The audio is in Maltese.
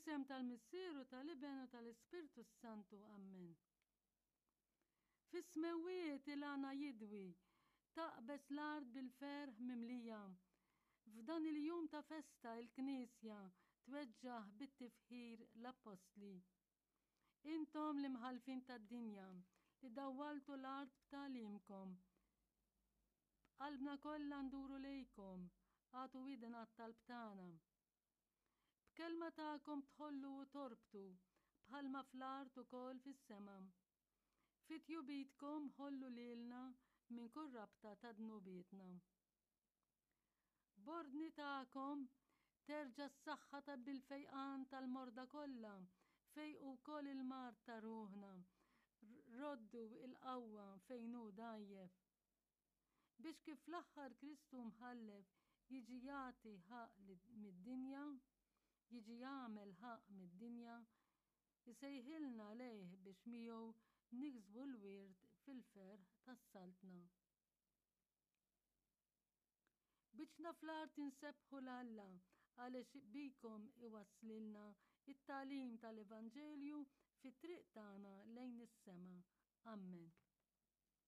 Fl-isem tal-Missier u tal-Iben u tal-Ispirtu s-Santu. Ammen. Fis-smewwiet il-għana jidwi, taqbeż l-art bil-ferħ mimlija. F'dan il-jum ta' festa il-Knisja tweġġaħ bit-tifħir l-Appostli. Intom l-imħallfin tad-dinja li dawwaltu l-art b'tagħlimkom. B'qalbna kollha nduru lejkom, agħtu widen għat-talb tagħna. B'kelma tagħkom tħollu u torbtu, bħalma fl-art ukoll fis-sema. Fi tjubitkom ħollu lilna minn kull rabta ta' dnubietna. B'ordni tagħkom terġa' s-saħħa ta' bil-fejqan tal-morda kollha, fejqu wkoll il-mard ta' ruħna, roddu l-qawwa fejn hu dgħajjef. Biex kif fl-aħħar Kristu mħallef jiġi jagħti ħaqq mid-dinja, jiġi jagħmel ħaqq mid-dinja, isejħilna lejh biex miegħu niksbu l-wirt fil-ferħ tas-Saltna. Biċna fl-art insebbħu 'l Alla għaliex bikom iwasslilna t-tagħlim tal-Evanġelju fit-triq tagħna lejn is-sema. Ammen.